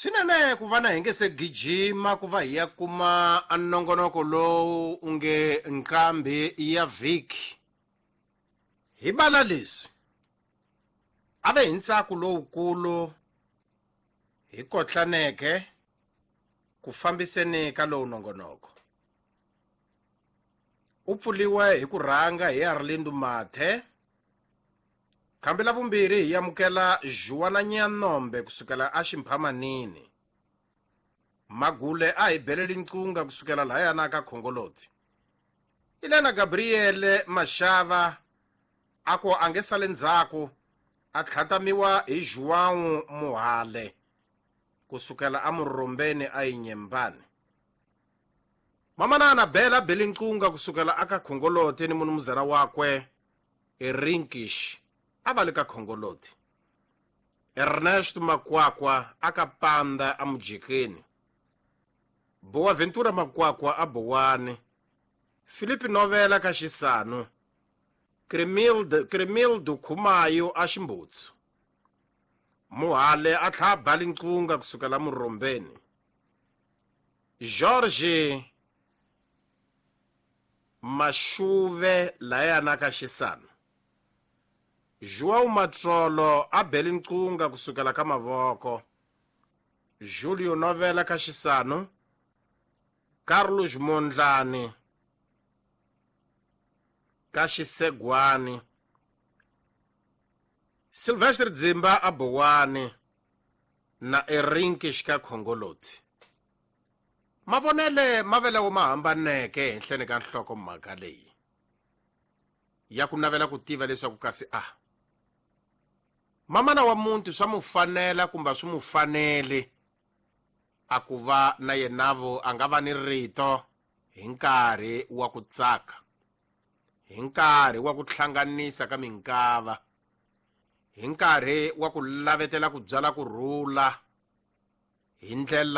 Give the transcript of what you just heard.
Swinene ku va na hi nge se gijima ku va hi ya kuma nongonoko lowu u nge nqambi ya vhiki hi bala leswi a ve hi ntsako lowukulu hi kotlaneke ku fambiseni ka lowu nongonoko. U pfuliwe hi ku rhanga hi Arlindo Mathe. Khambi la vumbirhi hi amukela Juwana Nyanombe kusukela a Ximphamanini. Magule a hi beleli nqunga kusukela lahayana ka Khongoloti. Ilena Gabriel Mashava a ku a nge sale ndzhaku a tlhatamiwa hi João Muhale kusukela a Murombeni a Inyembani. Mamanana Bela Belinqunga kusukela aka Khongoloti ni munumuzana wakwe Erinkish a va le ka Khongoloti. Ernesto Makwakwa aka Panda a Mujikeni. Boaventura Makwakwa a Bowani. Filipe Novela ka Xisanu. Cremildo Khumayo a Ximbutsu. Muhale a tlha Balinqunga kusukela Murombeni. George Mashuve layana ka Xisanu. João Matsolo a Belinqunga kusukela ka Mavoko. Julio Novela ka Xisanu. Carlos Mondlane ka Xisegwani. Sylvester Dzimba a Bowani na Erinkish ka Khongoloti. Mavonele ma velewo ma hambaneke henhleni ka nhlokomhaka leyi ya ku navela ku tiva leswaku kasi a mamana wa muti swa mu fanela kumbe swi mu fanele a ku va na yenavo a nga va ni rito hi nkarhi wa ku tsaka, hi nkarhi wa ku hlanganisa ka minkava, hi nkarhi wa ku lavetela ku byala ku rhula hi ndlela.